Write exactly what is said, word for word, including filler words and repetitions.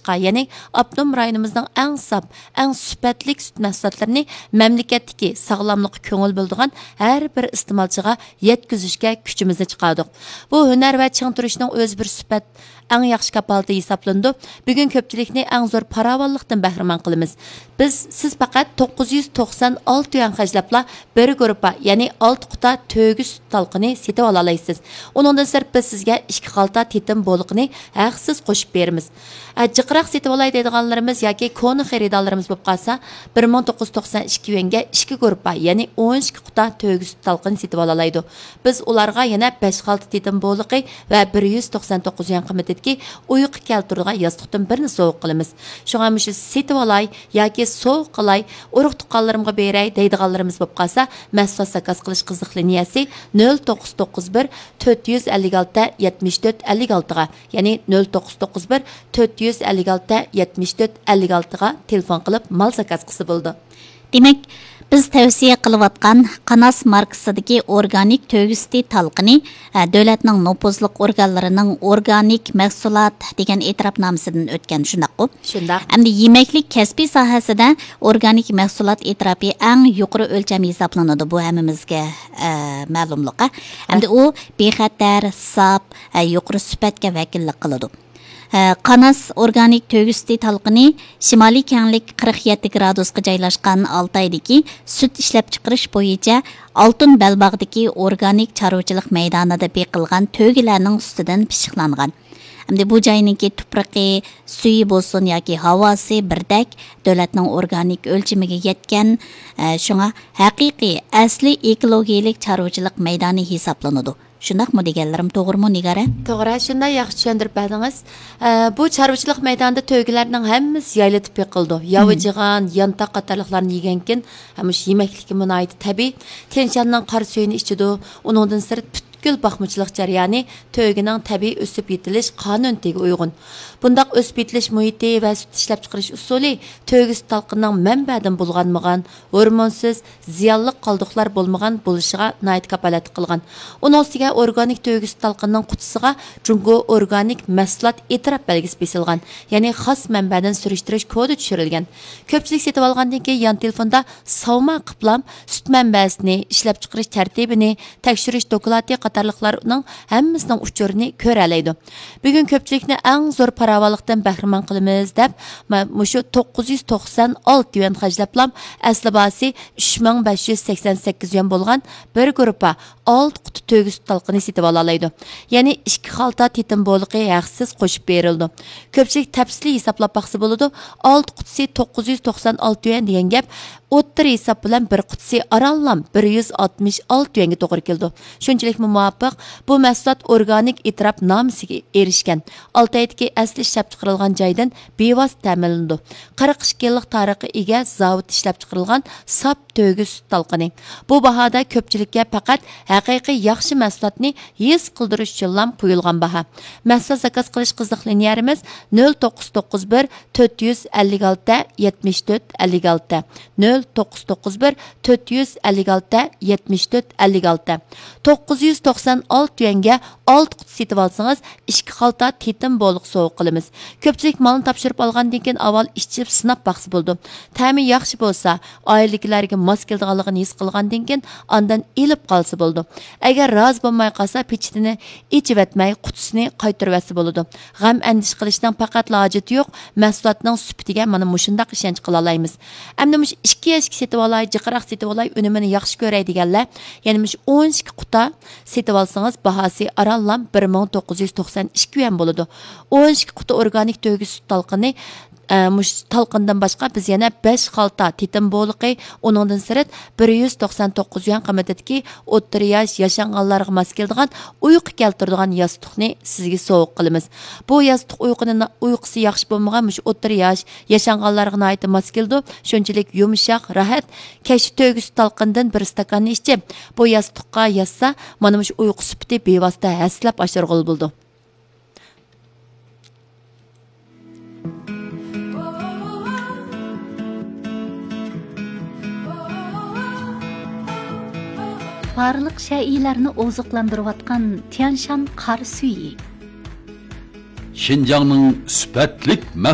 يەنى ئاپتونوم رايونىمىزنىڭ ئەڭ ساپ، ئەڭ سۈپەتلىك سۈت مەھسۇلاتلىرىنى مەملىكەتتىكى ساغلاملىققا كۆڭۈل بۆلىدىغان ھەر بىر ئىستېمالچىغا يەتكۈزۈشكە كۈچىمىزنى چىقاردۇق. بۇ ھۈنەر ۋە چىڭ تۇرۇشنىڭ ئۆزى بىر سۈپەت، ئەڭ ياخشى كاپالىتى ھېسابلىنىدۇ. بۈگۈن كۆپچىلىكنى ئەڭ زور پاراۋانلىقتىن بەھرىمەن قىلىمىز. بىز، سىز پەقەت توققۇز يۈز توقسان ئالتە يۈەن خەجلەپلا بىر گۇرۇپپا، يەنى ئالتە قۇتا تۆگە سۈت تالقىنى سېتىۋالالايسىز. ئۇنىڭدىن سىرت، بىز سىزگە ئىككى خالتا تېتىم بولىقىنى ھەقسىز قوشۇپ بېرىمىز. ئە، جىقراق سېتىۋالاي دەيدىغانلىرىمىز ياكى كونا خېرىدارلىرىمىز بولۇپ قالسا، بىر مىڭ توققۇز يۈز توقسان ئىككى يۈەنگە ئىككى گۇرۇپپا، يەنى ئون ئىككى قۇتا تۆگە سۈت تالقىنى سېتىۋالالايدۇ. بىز ئۇلارغا يەنە بەش خالتا تېتىم بولىقى ۋە بىر يۈز توقسان توققۇز يۈەن قىممىتىدىكى ئۇيقۇ كەلتۈرىدىغان ياستۇقتىن بىرنى سوۋغا قىلىمىز. شۇڭا مۇشۇ سېتىۋالاي ياكى سوۋغا قىلاي، ئۇرۇق-تۇغقانلىرىمغا بېرەي دەيدىغانلىرىمىز بولۇپ قالسا، مەھسۇلات زاكاز قىلىش قىزىق لىنىيەسى نۆل توققۇز توققۇز بىر، تۆت يۈز ئەللىك ئالتە، يەتمىش تۆت، ئەللىك ئالتىغا، يەنى نۆل توققۇز توققۇز بىر، تۆت يۈز ئەللىك ئالتە، يەتمىش تۆت، ئەللىك ئالتىغا تېلېفون قىلىپ مال زاكاز قىلسا بولىدۇ. دېمەك، بىز تەۋسىيە قىلىۋاتقان قاناس ماركىسىدىكى ئورگانىك تۆگە سۈتى تالقىنى، ئە، دۆلەتنىڭ نوپۇزلۇق ئورگانلىرىنىڭ ئورگانىك مەھسۇلات دېگەن ئېتىراپنامىسىدىن ئۆتكەن، شۇنداققۇ؟ شۇنداق. ئەمدى يېمەكلىك كەسپىي ساھەسىدە ئورگانىك مەھسۇلات ئېتىراپى ئەڭ يۇقىرى ئۆلچەم ھېسابلىنىدۇ، بۇ ھەممىمىزگە، ئە، مەلۇملۇق، ئە. ئەمدى ئۇ بىخەتەر، ساپ، ئە، يۇقىرى سۈپەتكە ۋەكىللىك قىلىدۇ. ئە، قاناس ئورگانىك تۆگە سۈتى تالقىنى شىمالىي كەڭلىك قىرىق يەتتە گرادۇسقا جايلاشقان ئالتايدىكى سۈت ئىشلەپچىقىرىش بويىچە ئالتۇن بەلباغدىكى ئورگانىك چارۋىچىلىق مەيدانىدا بېقىلغان تۆگىلەرنىڭ سۈتىدىن پىششىقلانغان. ئەمدى بۇ جاينىڭكى تۇپرىقى، سۈيى بولسۇن ياكى ھاۋاسى بىردەك دۆلەتنىڭ ئورگانىك ئۆلچىمىگە يەتكەن، ئە، شۇڭا ھەقىقىي، ئەسلىي ئېكولوگىيەلىك چارۋىچىلىق مەيدانى ھېسابلىنىدۇ. شۇنداقمۇ دېگەنلىرىم توغرىمۇ، نىگارە؟ توغرا، شۇنداق، ياخشى چۈشەندۈرۈپ بەردىڭىز. ئە، بۇ چارۋىچىلىق مەيدانىدا تۆگىلەرنىڭ ھەممىسى يايلىتىپ بېقىلىدۇ. ياۋا، مم، جىغان، يانتاق قاتارلىقلارنى يېگەنكىن، ھەم مۇشۇ يېمەكلىكىمۇ ناھايىتى تەبىئىي. تيەنشاننىڭ قارا سۈيىنى ئىچىدۇ. ئۇنىڭدىن سىرت، پۈتكۈل باقمىچىلىق جەريانى تۆگىنىڭ تەبىئىي ئۆسۈپ يېتىلىش قانۇنىيىتىگە ئۇيغۇن. بۇنداق ئۆسۈپ يېتىلىش مۇھىتى ۋە سۈت ئىشلەپچىقىرىش ئۇسۇلى تۆگە سۈت تالقىنىنىڭ مەنبەدىن بۇلغانمىغان، ھورمونسىز، زىيانلىق قالدۇقلار بولمىغان بولۇشىغا ناھايىتى كاپالەتلىك قىلغان. ئۇنىڭ ئۈستىگە ئورگانىك تۆگە سۈت تالقىنىنىڭ قۇتىسىغا جۇڭگو ئورگانىك مەھسۇلات ئېتىراپ بەلگىسى بېسىلغان، يەنى خاس مەنبەدىن سۈرۈشتۈرۈش كودى چۈشۈرۈلگەن. كۆپچىلىك سېتىۋالغاندىن كېيىن يان تېلېفوندا ساۋما قىپلام سۈت مەنبەسىنى، ئىشلەپچىقىرىش تەرتىپىنى، تەكشۈرۈش دوكلاتى قاتارلىقلارنىڭ ھەممىسىنىڭ ئۇچۇرىنى كۆرەلەيدۇ. بۈگۈن كۆپچىلىكنى ئەڭ زور پاراۋانلىقتىن بەھرىمەن قىلىمىز دەپ، ما-، مۇشۇ توققۇز يۈز توقسان ئالتە يۈەن خەجلەپلام ئەسلى باھاسى ئۈچ مىڭ بەش يۈز سەكسەن سەككىز يۈەن بولغان بىر گۇرۇپپا ئالتە قۇتا تۆگە سۈت تالقىنى سېتىۋالالايدۇ. يەنى ئىككى خالتا تېتىم بولىقى ھەقسىز قوشۇپ بېرىلىدۇ. كۆپچىلىك تەپسىلىي ھېسابلاپ باقسا بولىدۇ. ئالتە قۇتىسى توققۇز يۈز توقسان ئالتە يۈەن دېگەن گەپ، ئوتتۇرا ھېساب بىلەن بىر قۇتىسى ئارانلا بىر يۈز ئاتمىش ئالتە يۈەنگە توغرا كېلىدۇ. شۇنچىلىكمۇ مۇۋاپىق، بۇ مەھسۇلات ئورگانىك ئېتىراپ نامىسىگە ئېرىشكەن. ئالتايدىكى ئەسلى ئىشلەپچىقىرىلغان جايدىن بىۋاسىتە تەمىنلىنىدۇ. قىرىق ئىككى يىللىق تارىخقا ئىگە زاۋۇتتا ئىشلەپچىقىرىلغان ساپ تۆگە سۈت تالقىنى. بۇ باھادا كۆپچىلىككە پەقەت ھەقىقىي ياخشى مەھسۇلاتنى ھېس قىلدۇرۇش ئۈچۈنلا قويۇلغان باھا. مەھسۇلات زاكاز قىلىش قىزىق لىنىيەلىرىمىز نۆل توققۇز توققۇز بىر، تۆت يۈز ئەللىك ئالتە، يەتمىش تۆت، ئەللىك ئالتە، نۆل توققۇز توققۇز بىر، تۆت يۈز ئەللىك ئالتە، يەتمىش تۆت، ئەللىك ئالتە. توققۇز يۈز توقسان ئالتە يۈەنگە ئالتە قۇتا سېتىۋالسىڭىز، ئىككى خالتا تېتىم بولىقى سوۋغا قىلىمىز. كۆپچىلىك مالنى تاپشۇرۇپ ئالغاندىن كېيىن ئاۋۋال ئىچىپ سىناپ باقسا بولىدۇ. تەمى ياخشى بولسا، ئائىلىدىكىلەرگە ماس كېلىدىغانلىقىنى ھېس قىلغاندىن كېيىن ئاندىن ئېلىپ قالسا بولىدۇ. ئەگەر رازى بولماي قالسا، پېچىتىنى ئېچىۋەتمەي، قۇتىسىنى قايتۇرۇۋەتسە بولىدۇ. غەم ئەندىشە قىلىشنىڭ پەقەتلا ھاجىتى يوق، مەھسۇلاتنىڭ سۈپىتىگە مانا مۇشۇنداق ئىشەنچ قىلالايمىز. ئەمدى مۇشۇ ئىككى يەشكە سېتىۋالاي، جىقراق سېتىۋالاي، ئۈنۈمىنى ياخشى كۆرەي دېگەنلەر يەنە مۇشۇ ئون ئىككى قۇتا سېتىۋالسىڭىز، باھاسى ئارانلا بىر مىڭ توققۇز يۈز توقسان ئىككى يۈەن بولىدۇ. ئون ئىككى قۇتا ئورگانىك تۆگە سۈت تالقىنى، ئە، مۇشۇ تالقىندىن باشقا بىز يەنە بەش خالتا تېتىم بولىقى، ئۇنىڭدىن سىرت بىر يۈز توقسان توققۇز يۈەن قىممىتىدىكى ئوتتۇرا ياش ياشانغانلارغا ماس كېلىدىغان ئۇيقۇ كەلتۈرىدىغان ياستۇقنى سىزگە سوۋغا قىلىمىز. بۇ ياستۇق ئۇيقۇنى، ئۇيقۇسى ياخشى بولمىغان مۇشۇ ئوتتۇرا ياش ياشانغانلارغا ناھايىتى ماس كېلىدۇ. شۇنچىلىك يۇمشاق، راھەت. كەچتە تۆگە سۈت تالقىندىن بىر ئىستاكاننى ئىچىپ، بۇ ياستۇققا ياتسا، مانا مۇشۇ ئۇيقۇ سۈپىتى بىۋاسىتە ھەسسىلەپ ئاشۇرغىلى بولىدۇ. بارلىق شەيئىلەرنى ئوزۇقلاندۇرۇۋاتقان تيەنشان قار سۈيى. شىنجاڭنىڭ سۈپەتلىك مەھسۇلاتلىرى.